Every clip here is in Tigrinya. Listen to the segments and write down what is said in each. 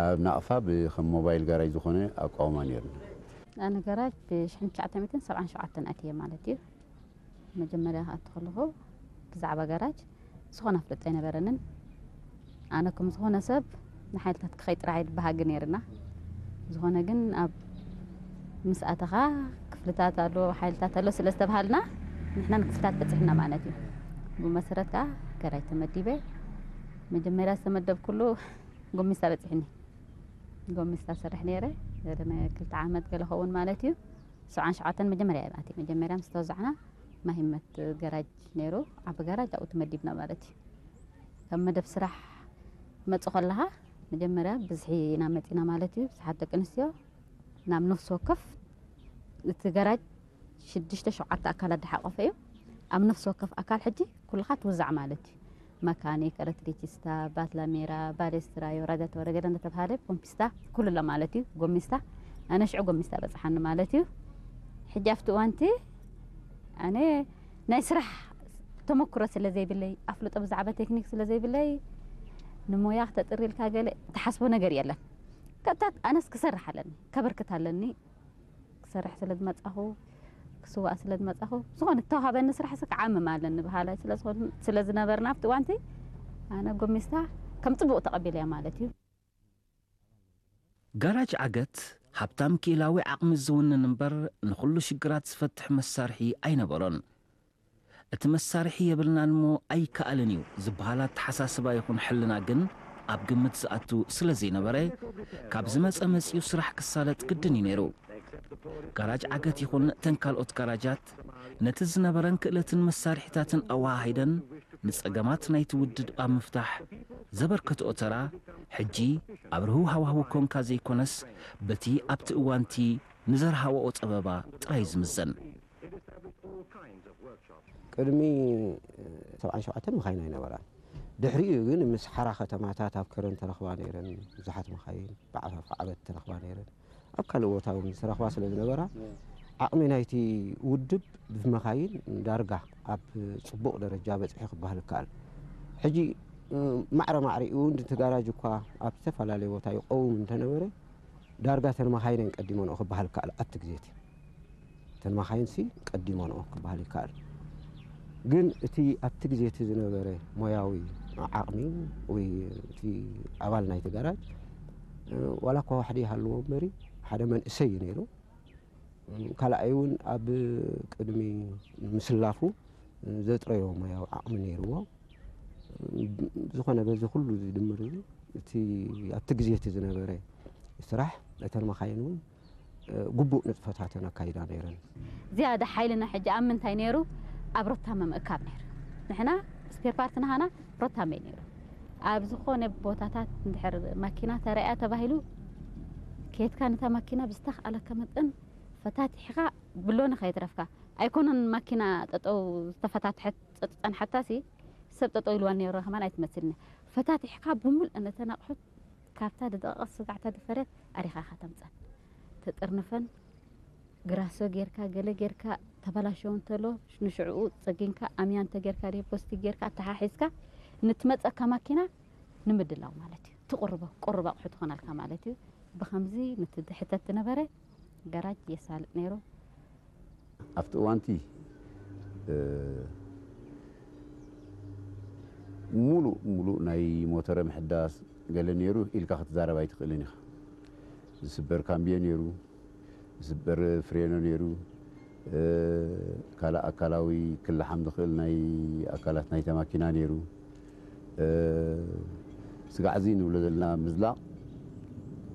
ኣብ ናቕፋ ብከም ሞባይል ጋራጅ ዝኾነ ኣቋውማ ነይርና። ኣነ ገራጅ ብ1977 ኣትየ ማለት እዩ። መጀመርያ ክኣቱ ከለኹ ብዛዕባ ገራጅ ዝኾነ ፍልጥ ኣይነበረንን። ኣነ ከም ዝኾነ ሰብ ንሓይልታት ክኸይ ጥራሕ ይበሃግ ነይርና። ዝኾነ ግን ኣብ ምስ ኣተኻ ክፍልታት ኣሎ ሓይልታት ኣሎ ስለ ዝተባሃልና ንሕና ንክፍልታት በፂሕና ማለት እዩ። ብመሰረት ከዓ ገራጅ ተመዲበ። መጀመርያ ዝተመደብኩሉ ጎሚስታ በፂሕኒ። ጎሚስታ ሰርሕ ነይረ ዘለ ክልተ ዓመት ገለ ኸውን ማለት እዩ። ሰብዓን ሸውዓተን መጀመርያ እየ ኣትየ። መጀመርያ ምስ ተወዛዕና ማሂመት ገራጅ ነይሩ፣ ዓቢ ገራጅ ኣብኡ ተመዲብና ማለት እዩ። ካብ መደብ ስራሕ መፁ ከለኻ መጀመርያ ብዝሒ ኢና መፂና ማለት እዩ። ብዙሓት ደቂ ኣንስትዮ ናብ ነፍሲ ወከፍ እቲ ገራጅ ሽዱሽተ ሸውዓተ ኣካላት ዝሓቆፈ እዩ። ኣብ ነፍሲ ወከፍ ኣካል ሕጂ ኩልኻ ትውዛዕ ማለት እዩ። መካኒክ፣ ኤሌክትሪሲስታ፣ ባትላሜራ፣ ባሌስትራዮ፣ ራዳቶረ ገለ እንዳተባሃለ ፖምፒስታ ኩሉ ኣሎ ማለት እዩ። ጎሚስታ ኣነ ሽዑ ጎሚስታ በፅሓኒ ማለት እዩ። ሕጂ ኣብቲ እዋንቲ ኣነ ናይ ስራሕ ተመክሮ ስለ ዘይብለይ ኣፍልጦ ብዛዕባ ቴክኒክ ስለ ዘይብለይ ንሞያ ክተጥሪ ኢልካ ገለ ትሓስቦ ነገር የለን። ቀጥታ ኣነስ ክሰርሕ ኣለኒ ከበርክት ኣለኒ ክሰርሕ ስለ ዝመጻኹ ክስዋእ ስለ ዝመጻኹ ዝኾነ ዝተዋሃበኒ ስራሕ ስ ክዓምም ኣለኒ በሃላይ ስለ ዝኾን- ስለ ዝነበርና ኣብቲ እዋንቲ ኣነ ጎሚስታ ከም ጽቡቕ ተቐቢለያ ማለት እዩ። ጋራጅ ዓገት ሃብታም ክኢላዊ ዓቕሚ ዝውንን እምበር ንኹሉ ሽግራት ዝፈትሕ መሳርሒ ኣይነበሮን። እቲ መሳርሒ የብልናን እሞ ኣይከኣልን እዩ ዝበሃል ኣተሓሳስባ ይኹን ሕልና ግን ኣብ ግምት ዝኣቱ ስለ ዘይነበረ ካብ ዝመጸ መጺኡ ስራሕ ክሳለጥ ግድን እዩ ነይሩ። ጋራጅ ዓገት ይኹን ተን ካልኦት ጋራጃት ነቲ ዝነበረን ክእለትን መሳርሒታትን ኣወሃሂደን ንጸገማት ናይቲ ውድብ ኣብ ምፍታሕ ዘበርከትኦ ተራ ሕጂ ኣብ ርህው ሃዋህው ኮንካ ዘይኮነስ በቲ ኣብቲ እዋንቲ ንዘርሃወኦ ጸበባ ጥራይ ዝምዘን። ቅድሚ ሰብዓን ሸውዓተን መኻይን ኣይነበራን። ድሕሪኡ ግን ምስ ሓራ ከተማታት ኣብ ከረን ተረኽባ ነይረን ብዙሓት መኻይን ብዓፋፍ ዓበት ተረኽባ ነይረን ኣብ ካልእ ቦታ እውን ዝተረኽባ ስለ ዝነበራ ዓቕሚ ናይቲ ውድብ ብመኻይን ዳርጋ ኣብ ፅቡቕ ደረጃ በፅሒ ክበሃል ይከኣል። ሕጂ ማዕረ ማዕሪኡ እውን እቲ ጋራጅ እኳ ኣብ ዝተፈላለየ ቦታ ይቀውም እንተነበረ ዳርጋ ተን መኻይነን ቀዲመንኦ ክበሃል ይከኣል ኣብቲ ግዜ እቲ ተን መኻይንሲ ቀዲመንኦ ክበሃል ይከኣል። ግን እቲ ኣብቲ ግዜ እቲ ዝነበረ ሞያዊ ዓቕሚ ወይ እቲ ኣባል ናይቲ ጋራጅ ዋላ እኳ ዋሕዲ ይሃልዎ እምበሪ ሓደ መንእሰይ እዩ ነይሩ። ካልኣይ እውን ኣብ ቅድሚ ምስላፉ ዘጥረዮ ሞያዊ ዓቕሚ ነይርዎ። ዝኾነ በዚ ኩሉ ዝድምር እዚ እቲ ኣብቲ ግዜ እቲ ዝነበረ ስራሕ እተን መኻይን እውን ግቡእ ንጥፈታተን ኣካይዳ ነይረን። ዝያዳ ሓይልና ሕጂ ኣብ ምንታይ ነይሩ? ኣብ ሮታ ምምእካብ ነይሩ። ንሕና ስፔር ፓርት ናሃና ሮታ መይ ነይሩ። ኣብ ዝኾነ ቦታታት እንድሕር ማኪና ተረእያ ተባሂሉ ከየትካ ነታ ማኪና ብዝተኽኣለካ መጠን ፈታቲሕኻ ብሎኒ ከየትረፍካ ኣይኮነን ማኪና ጠጠው ዝተፈታትሐት ዝፀንሓታሲ ሰብ ጠጠው ኢልዋ ነይሩ ከማን ኣይትመስልኒ ፈታቲሕካ ብምሉእ ነተን ኣቑሑት ካብታ ዝደቐቐት ስጋዕታ ዝፈረየት ኣሪኻ ኢኻ ተምፀን ተጥርንፈን ግራሶ ጌርካ ገለ ጌርካ ተበላሸው እንተሎ ንሽዕኡ ፀጊንካ ኣምያ እንተጌርካ ሪፖስቲ ጌርካ ኣተሓሒዝካ ንትመፀካ ማኪና ንምድላው ማለት እዩ ትቁርቦ ቁርብ ኣቑሑ ትኾነልካ ማለት እዩ ብኸምዚ ንትድሕተት ትነበረ ገራጅ የሳልጥ ነይሩ ኣብቲ እዋንቲ ሙሉእ ሙሉእ ናይ ሞተረ ምሕዳስ ገለ ነይሩ ኢልካ ክትዛረብ ኣይትኽእልን ኢኻ። ዝስበር ካምብዮ ነይሩ፣ ዝስበር ፍሬኖ ነይሩ፣ ካልእ ኣካላዊ ክልሓም ዝኽእል ናይ ኣካላት ናይታ ማኪና ነይሩ። ስጋዕ እዚ ንብሎ ዘለና ምዝላቕ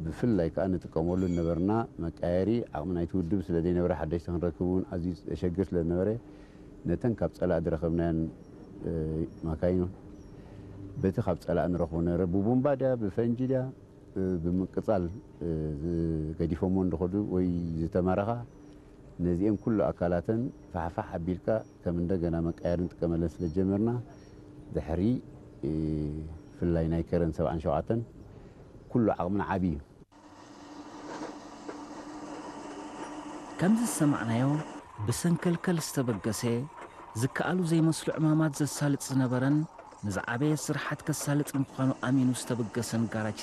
ብፍላይ ከዓ ንጥቀመሉ ዝነበርና መቃየሪ ዓቕሚ ናይቲ ውድብ ስለ ዘይነበረ ሓደሽቲ ክንረክብ እውን ኣዝዩ ዘሸግር ስለ ዝነበረ ነተን ካብ ፀላእ ዝረኸብናየን ማካይን በቲ ካብ ፀላእ ንረኽቦ ነበረ ብቡምባ ድያ ብፈንጂ ድያ ብምቅፃል ገዲፎሞ እንደኸዱ ወይ ዝተማረኻ ነዚኤን ኩሉ ኣካላተን ፋሕፋሕ ኣቢልካ ከም እንደገና መቃየሪ ንጥቀመለን ስለ ዝጀመርና ድሕሪ ፍላይ ናይ ከረን ሰብዓን ሸውዓተን ኩሉ ዓቕምና ዓብዩ ከምዚ ዝሰማዕናዮ ብሰንከልከል ዝተበገሰ ዝከኣሉ ዘይመስሉ ዕማማት ዘሳልጥ ዝነበረን ንዝዓበየ ስርሓት ከሳልጥ ምዃኑ ኣሚኑ ዝተበገሰን ጋራጅ